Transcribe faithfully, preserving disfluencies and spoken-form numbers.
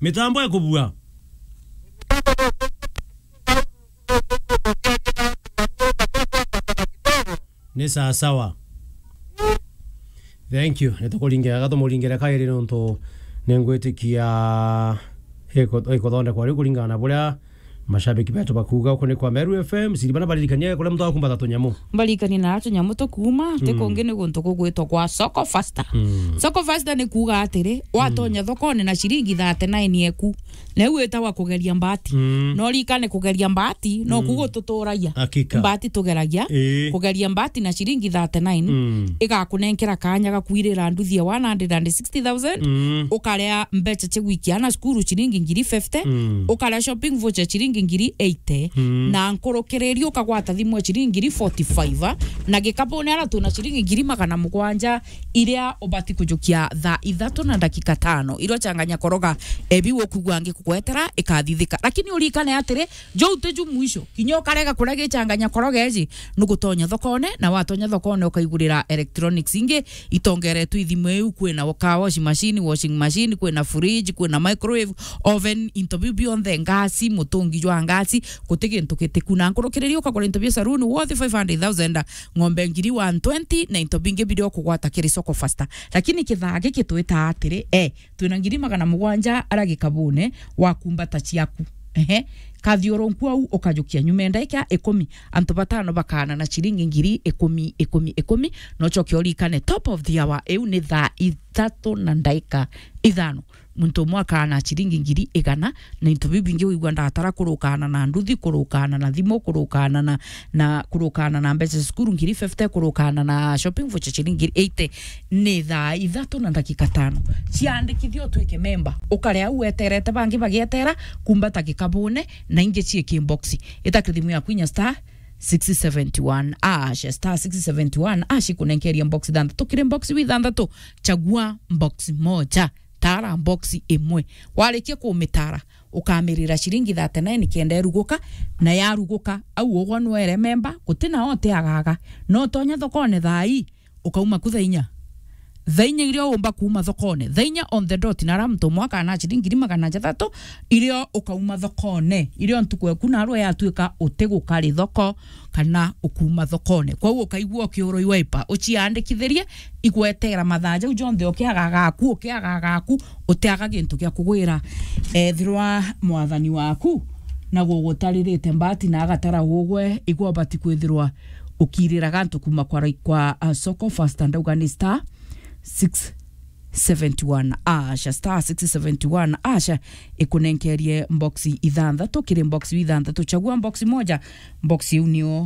Mitambo ikubua. Ni sawa sawa. Thank you. Nitukuringiraga, tumuringire kairi nontu ningwitikia iko-, ikuthondekwa riu kuringana na buria mashabiki betu bakuuga. Uku ni kwa Meru F M, siri bana baririkania kuria muntu akumbata tunyamu. Mbarikani na tunyamu tukuuma, ti kungi ni guntu kugwitwa kwa Soko Faster. Mm. Soko Faster ni kuuga atiri, watonya thokone na ciringi thirty-nine eku, na iu itagwa kugeria mbati. Mm. No rikane kugeria mbati, no ku gututuragia. Hakika. Mbati tugeragia. Ii. Kugeria mbati na ciringi thirty-nine, mm, igakunenkera kanya ga kwirira nduthi ya one hundred and sixty thousand, mm, ukarea mbeca cia gwikia ana cukuru ciringi ngiri fifty, mm, ukarea shopping voucher ciringi ngiri eighty, mm, na nkurukiriri ukagwata thimu ya ciringi ngiri forty-five, na gikabune ara twina ciringi ngiri magana mugwanja, iria ubati kujukia thaa ithatu na ndagika tano, iria uchanganya koroga ebi ukugwa ngi kugwetera ikathithika. Lakini urikane atiri, jou ti ju mwisho. Kinya ukarega kuria gichanganya koroga iji, nugutonya thokone, na watonya thokone ukaigurira electronics ingi itongeretwe ithimu iu. Kwina car wash machine, washing machine, kwina fridge, kwina microwave, oven, into biu bionthe, ngasi, mutungi jwa ngasi, guti gintu gitiku. Na nkurukiriri ukagura into bia saloon worth five hundred thousand, ng'ombe ngiri one twenty, na into bingi biria ukugwata kiri Soko Faster. Lakini kithaa giki twita atiri, eh, twina ngiri magana mugwanja ara gikabune wa kumbata ciaku. Ehe. Kathiurunku au ukajukia nyuma ya ndaika ikumi, antu batano bakaana na ciringi ngiri ikumi, ikumi, ikumi. No ucoke urikane, top of the hour, iu ni thaa ithatu na ndaika ithano. Muntu umwe akaana ciringi ngiri igana, na into biu bingi wigua ndatara kurukana na nduthi, kurukana na thimu, kurukana na, na kurukana na mbeca cia cukuru ngiri fifty, kurukana na shopping voucher ciringi ngiri eighty. Ni thaa ithatu na ndagika tano. Ciandikithie utwike memba. Ukare au weterete bangi bagietera, kumbata gikabune, na ingi ciiki box. Ita kithimu yaku inya star six seventy one ash, star six seventy one ash, ikunenkeria box ithanthatu. Kiri box wi ithanthatu, chagua box moja. Tara box imwe. Warikia kumitara, ukamirira ciringi thirty-nine kenda iruguka, na yaruguka, au ugwa nwere memba, guti na utiagaga. No utonya thokone thaa ii, ukauma ku thaa inya. Thaa inya iria umba kuuma thokone, thaa inya on the dot, na ara muntu umwe akaana ciringi ngiri magana jathatu, irio ukauma thokone, irio ntuku eku narua yatuika utigukari thoko, kana ukuuma thokone. Kwou ukaigua ukiurwa iwaipa, uciandikithirie, igwetera mathaa jau jonthe ukiaga gaku, ukiaga gaku, utiaga gintu gia kugwira. Ethirwa mwathani waku na gugutaririte mbati na agatara ugwe, igwa ubati kwithirwa ukirira gantu kuma kwa rai-, kwa, uh, Soko Faster, ndauga ni star six seventy one ash, star six seventy one ash, ikunenkerie box ithanthatu, kiri box ithanthatu, chagua box moja, box iu nio